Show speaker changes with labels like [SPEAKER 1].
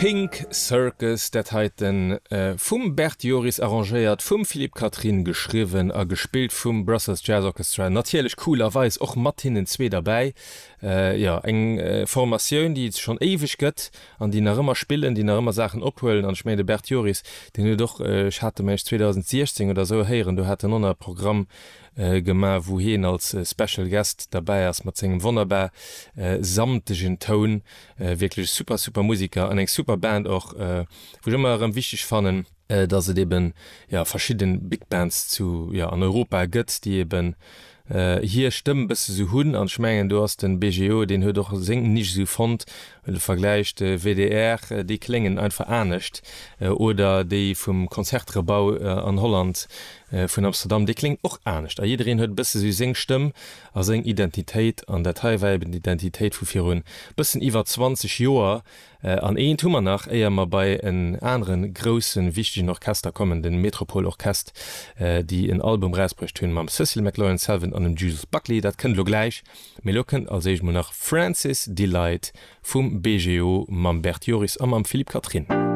[SPEAKER 1] Pink Circus, dat heiten vum Bert Joris arrangéiert, vum Philippe Catherine geschriwwen a gespillt vum Brussels Jazz Orchestra, natierlech coolerweis och mat hinnen zwee derbäi. Jo, eng Formatioun, déi et schonn éiweg gëtt an déi nach ëmmer spillen, déi nach ëmmer Saachen ophuelen. An ech mengen, de Bert Joris, deen huet och, ech hat e mengen ech 2016 oder esou héieren, do hat en och nach e Programm gemaach, wou hien als Special Guest derbäi ass mat sengem wonnerbar samtegen Toun. Wierklech e super, super Musiker an eng super Band och, wou ech ëmmer erëm wichteg fannen, dass et eben, jo, verschidde Big Bands zu, jo, an Europa gëtt, déi eben hir Stëmm bësse sou hunn. An ech mengen, do ass de BGO, deen huet och seng Nisch esou fonnt. Well de Vergläich, de WDR, déi kléngen einfach anescht, oder déi vum Concertgebouw an Holland, vun Amsterdam, déi kléngen och anescht. A jiddereen huet e bësse sou seng Stëmm a seng Identitéit. An dat hei war eben d'Identitéit vu virun bëssen iwwer 20 Joer. An eent hu mer nach, éier mer bei en anere groussen, wichtegen Orchester kommen, de Metropole Orchest, déi en Album erausbruecht hunn mam Cécile McLorin Salvant an dem Jules Buckley. Dat kënnt elo gläich. Mee elo kënnt als éischt mol nach Francis Delight vum BGO mam Bert Joris a mam Philippe Catherine.